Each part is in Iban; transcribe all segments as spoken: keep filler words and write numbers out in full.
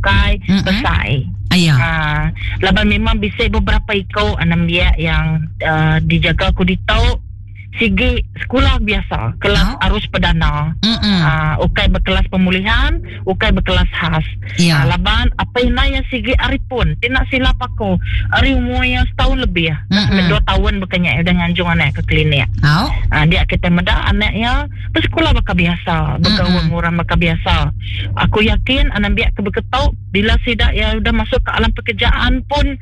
bukai Mm-mm. besai. Iya. Ah, laban memang bisa beberapa iko anak dia yang uh, dijaga ku ditu sigi sekolah biasa, kelas Oh. arus perdana. Mm-mm. Ah, ukai berkelas pemulihan, ukai berkelas khas. Ya. Ah, laban apa yang yang sigi ari pun, tidak silap aku. Ari umur yang setahun lebih. Mm-mm. Dua tahun bukannya udah nganjung anak ke klinik. Oh. Ah, dia kita meda anaknya bersekolah bakal biasa, bergaul Mm-mm. orang bakal biasa. Aku yakin anak biak ke berketuk bila sidak ya udah masuk ke alam pekerjaan pun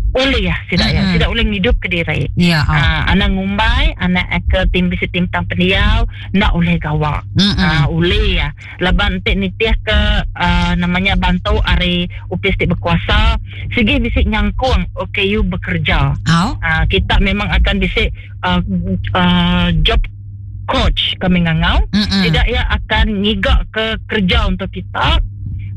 boleh ya sidak ya, Mm-mm. sidak boleh ngidup ke diri. Ya. Oh. Ah, anak ngumbai, anak ke tim bisi tim tang pendiau, nak boleh gawak. Mm-mm. Ah, boleh ya. Laban entik nitih ke ah, namanya bantu ari upis ti berkuasa, sigi bisi nyangkung O K U bekerja. Oh. Ah, kita memang akan bisi uh, uh, job coach kami ngangau. Mm-mm. Tidak ya akan ngigak ke kerja untuk kita,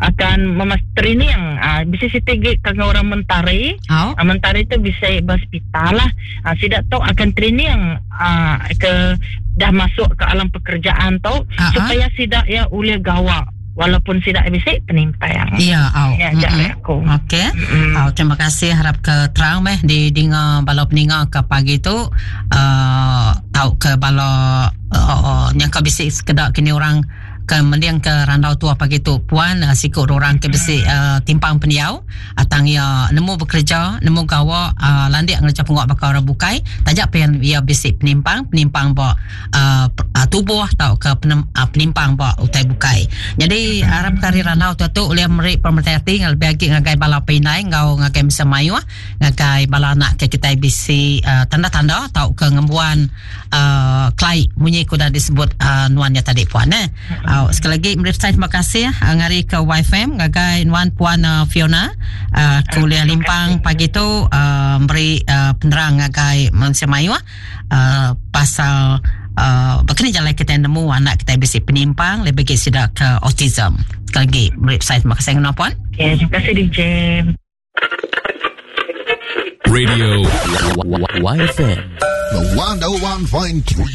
akan memas training ah, bisa siti kang orang mentari. Oh. Ah, mentari tu bisa berhospital lah. Ah, sidak tu akan training ah, ke dah masuk ke alam pekerjaan tu Ah, ah. supaya sidak ya boleh gawak walaupun sidak bisa penimpang. Ya, oh. Ya, Mm-mm. jak aku. Okey. Mm-mm. Oh, terima kasih, harap ke terang meh di dinga bala peninga ke pagi tu uh, tau ke bala uh, uh, yang ke bisi sekedak kini orang ke mendiang ke randau tua pagi tu puan uh, sikut orang ke bisi uh, timpang pendiau atang ya nemu bekerja, nemu gawa uh, landik ngerja penguat bakal orang bukai tajak pian ia bisi penimpang penimpang ba uh, uh, tubuh tau ke penem, uh, penimpang ba utai bukai. Jadi harap kari randau tu tu oleh meri pemerhati lebih lagi ngagai bala pinai ngau ngagai misa mayuh ngagai bala anak ke kita bisi uh, tanda-tanda tau ke ngembuan uh, klai munyi ku dah disebut uh, nuannya tadi puan eh. Uh, sekali lagi meri saya terima kasih uh, ngari ke Y F M ngagai nuan puan uh, Fiona uh, kuliah limpang pagi tu uh, beri uh, penerang ngagai manusia mayuh uh, pasal uh, berkena jalan kita nemu anak kita bisi penimpang lebih lagi sudah ke autism. Sekali lagi meri saya terima kasih dengan puan. Okay, terima kasih, D J. Radio Y F M. The one oh one point three.